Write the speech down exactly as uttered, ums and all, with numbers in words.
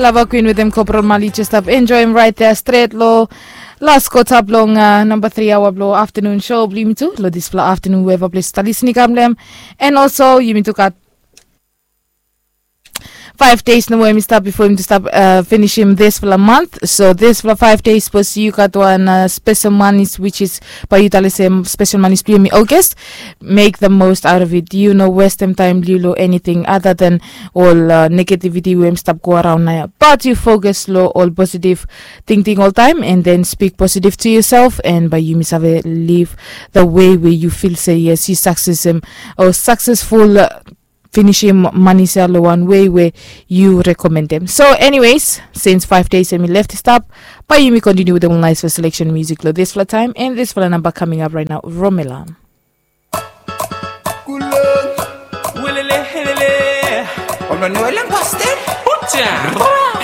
Lava Queen wetem Corporal Mali just stap enjoyim right there stret lo las kota blong uh, number three hour blo afternoon show blo yumi tu lo dispela afternoon weva ples ta listening kam lem. And also yumi tu gat five days nomo yumi stap before yumi tu stap uh, finishim dispela month. So dispela five days suppose you got one uh, special monies which is by you talisem special monies blo yumi August. Make the most out of it. You know, waste them time, Lilo, anything other than all uh, negativity we stop go around now. But you focus lo all positive thinking all time and then speak positive to yourself and by you misave live the way where you feel say yes, you success him or successful uh, finish him money sell one way where you recommend them. So anyways, since five days and we left stop, by you me continue with the nice for selection music lo this for time and this for the number coming up right now, Romela. Kulon. Welele, helele. Ono no elen pasten. Ucha.